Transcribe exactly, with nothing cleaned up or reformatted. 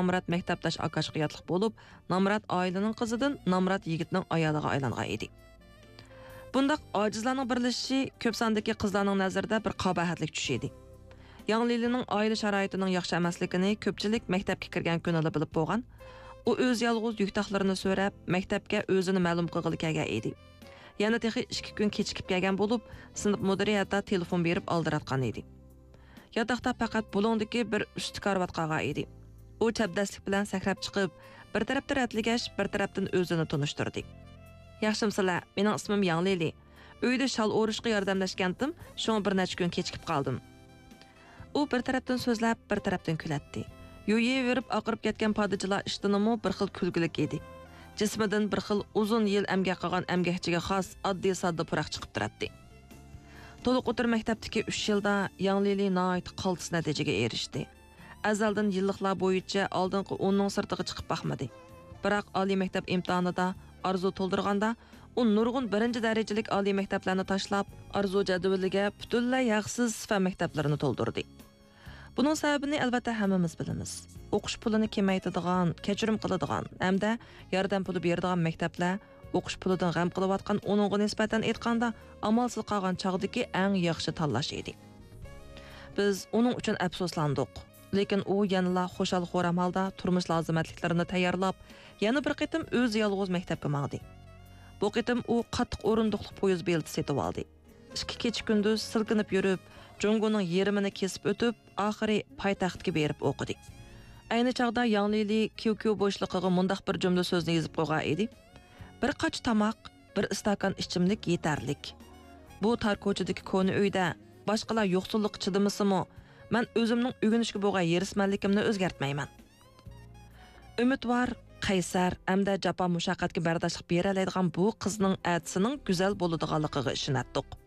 نامرات مەكتەپداش ئاكاشقا ياتلىق بولۇپ، نامرات ئائىلىنىڭ قىزىدىن نامرات يىگىتنىڭ ئايالىغا ئايلانغان ئىدى. بۇنداق ئاجىزلارنىڭ بىرلىشىشى كۆپ ساندىكى قىزلارنىڭ نەزىرىدە بىر قاباھەتلىك چۈش ئىدى. ياڭ لىلىنىڭ ئائىلە شارائىتىنىڭ ياخشى ئەمەسلىكىنى كۆپچىلىك مەكتەپكە كىرگەن كۈنىلا بىلىپ بولغان. ئۇ ئۆزى يالغۇز يۈكتاقلىرىنى سۆرەپ، مەكتەپكە ئۆزىنى مەلۇم قىلغىلى كەلگەن ئىدى. يەنە تېخى ئىككى كۈن كېچىكىپ كەلگەن بولۇپ، سىنىپ مۇدىرى ھەتتا تېلېفون بېرىپ ئالدىراتقان ئىدى. ياتاقتا پەقەت بۇلۇڭدىكى بىر ئۈستى كارىۋات قالغان ئىدى. ئۇ چەبدەسلىك بىلەن سەكرەپ چىقىپ، بىر تەرەپتىن رەتلىگەچ، بىر تەرەپتىن ئۆزىنى تونۇشتۇردى. ياخشىمسىلەر، مېنىڭ ئىسمىم ياڭ لىلى. ئۆيدە شال ئورۇشقا ياردەملەشكەنتىم، شۇڭا بىر نەچچە كۈن كېچىكىپ قالدىم. ئۇ بىر تەرەپتىن سۆزلەپ، بىر تەرەپتىن كۈلەتتى. يۇيۇۋېرىپ ئاقىرىپ كەتكەن پادىچىلا ئىشتىنىمۇ بىر خىل كۈلكىلىك ئىدى. جىسمىدىن بىر خىل ئۇزۇن يىل ئەمگەك قىلغان ئەمگەكچىگە خاس ئاددىي-ساددا پۇراق چىقىپ تۇراتتى. تولۇق ئوتتۇرا مەكتەپتىكى ئۈچ يىلدا ياڭ لىلى ناھايىتى قالتىس نەتىجىگە ئېرىشتى. ئەزەلدىن يىللىقلار بويىچە ئالدىنقى ئوننىڭ سىرتىغا چىقىپ باقمىدى. بىراق ئالىي مەكتەپ ئىمتىھانىدا ئارزۇ تولدۇرغاندا، ئۇ نۇرغۇن بىرىنچى دەرىجىلىك ئالىي مەكتەپلەرنى تاشلاپ، ئارزۇ جەدۋىلىگە پۈتۈنلەي ھەقسىز فەن مەكتەپلىرىنى تولدۇردى. بۇنىڭ سەۋەبىنى ئەلۋەتتە ھەممىمىز بىلىمىز. ئوقۇش پۇلىنى كېمەيتىدىغان، كەچۈرۈم قىلىدىغان ھەمدە ياردەم پۇلى بېرىدىغان مەكتەپلەر ئوقۇش پۇلىدىن غەم قىلىۋاتقان، ئۇنىڭغا نىسبەتەن ئېيتقاندا، ئامالسىز قالغان چاغدىكى ئەڭ ياخشى تاللاش ئىدى. بىز ئۇنىڭ ئۈچۈن ئەپسۇسلاندۇق. لېكىن ئۇ يەنىلا خۇشال-خۇرام ھالدا تۇرمۇش لازىمەتلىكلىرىنى تەييارلاپ، يەنە بىر قېتىم ئۆزى يالغۇز مەكتەپكە ماڭدى. بۇ قېتىم ئۇ قاتتىق ئورۇندۇقلۇق پويىز بېلىتى سېتىۋالدى. ئىككى كېچە-كۈندۈز سىلكىنىپ يۈرۈپ، جۇڭگونىڭ يېرىمىنى كېسىپ ئۆتۈپ، ئاخىرى پايتەختكە بېرىپ ئوقۇدى. ئەينى چاغدا ياڭ لىلى كيۇكيۇ بوشلۇقىغا مۇنداق بىر جۈملە سۆزنى يېزىپ قويغان ئىدى: «بىر قاچا تاماق، بىر ئىستاكان ئىچىملىك يېتەرلىك. بۇ تار كوچىدىكى كونا ئۆيدە باشقىلار يوقسۇللۇققا چىدىمىسىمۇ، مەن ئۆزۈمنىڭ ئۆگىنىشكە بولغان ھېرىسمەنلىكىمنى ئۆزگەرتمەيمەن.» ئۈمىدۋار، قەيسەر ھەمدە جاپا-مۇشەققەتكە بەرداشلىق بېرەلەيدىغان بۇ قىزنىڭ ئەتىسىنىڭ گۈزەل بولىدىغانلىقىغا ئىشىنەتتۇق.